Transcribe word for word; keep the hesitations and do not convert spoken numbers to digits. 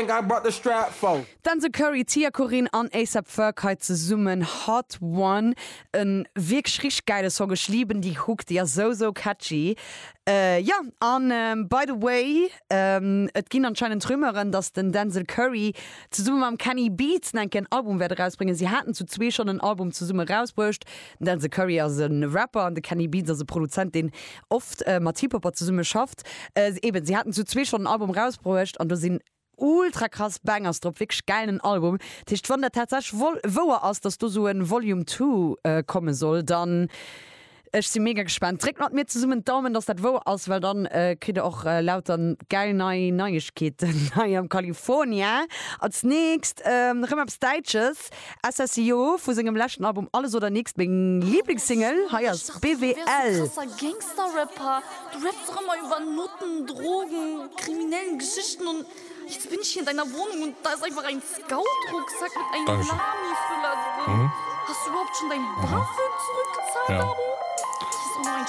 I brought the strap for. Denzel Curry, Tia Corinne an A$AP Ferg hei zesummen Hot One. E wierklech richteg geile Song. Ech lieben déi Hook, déi ass sou sou catchy. Äh, ja, an ähm, by the way, ähm, et ginn anscheinend Rumeuren, dass den Denzel Curry zesumme mam Kenny Beats en Album wäert erausbréngen. Si haten zu zwee schonn en Album zesumme erausbruecht. Den Denzel Curry ass e Rapper an de Kenny Beats ass e Produzent, deen oft äh, mat Hip-Hopper zesumme schafft. Äh, eben, si haten zu zwee schonn en Album erausbruecht an do sinn ultra krass Bangers drop, wierklech gäilen Album. Dat heescht, wann dat tatsächlech wouer ass, dass do sou e Volume two äh, komme soll, dann ech si mega gespaant. Dréckt mat mir zesummen d'Daumen, dass dat wouer ass, well dann äh, kritt der och äh, lauter geil nei Neiegkeeten hei am California. Als nächst ähm, rëm eppes Däitsches, S S I O vu sengem leschten Album Alles oder Nix, meng Lieblingssingle, hei ass B W L. B W L. Krasser Gangster-Rapper. Du rappst doch immer über Nutten, Drogen, kriminellen Geschichten und jetzt bin ich hier in deiner Wohnung und da ist einfach ein Scout-Rucksack mit einem Dankeschön. Lami-Füller drin. Hast du überhaupt schon dein BAföG zurückgezahlt, Ja. Abo? Hier ist auch noch ein